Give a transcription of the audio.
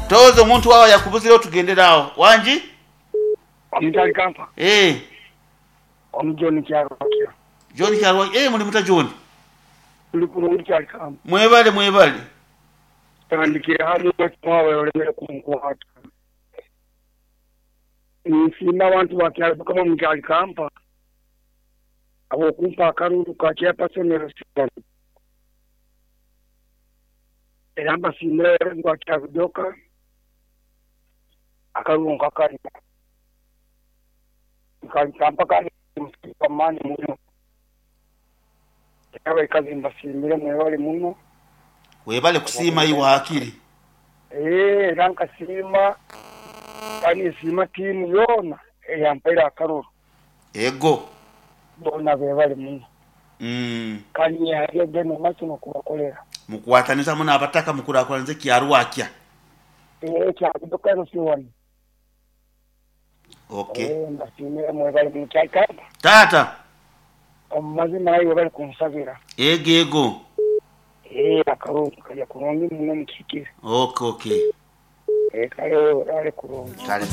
Toza omuntu wawe yakubuzireho tugendere aho. Wangi? Omuntu ali Kampa? Eh. Omu John Kyarwakya. John Kyarwakya. Eh, muli muta John? Tuli kulungi kyali Kampa. Mwebale mwebale. Tandikira hano mwawe olemere kunkwata. Nsiima abantu ba Kyarwakya mu kyali Kampa. Habw'okumpa akaruru ka chairperson LC1. Era mbasiimira ba Kyarudoka akaruru nkakalina. Nkaali Kampa kandi musiima maani muno. Era abaikazi mbasiimire mwebale muno. Webale kusiima iwe hakiri. Ee, era nkasiima kandi nsiima tiimu yoona eyampaire akaruru. Ego. Boona bebale muno. Kandi nyehayo ogenda omu maiso n'okubakolera. Mukwataniza muno abataka mukurakuraniza ekyarwakya. Ee, kyakuduka LC1. Okay. Ee, mbasiimire mwebale muno. Kyaikamba. Taata. Omu mazima aye webale kunsabira. Ego ego. Ee, akaruru kalya kurungi muno mukihikire. Okay okay. Ee, kale oraale kurungi. Kale kale.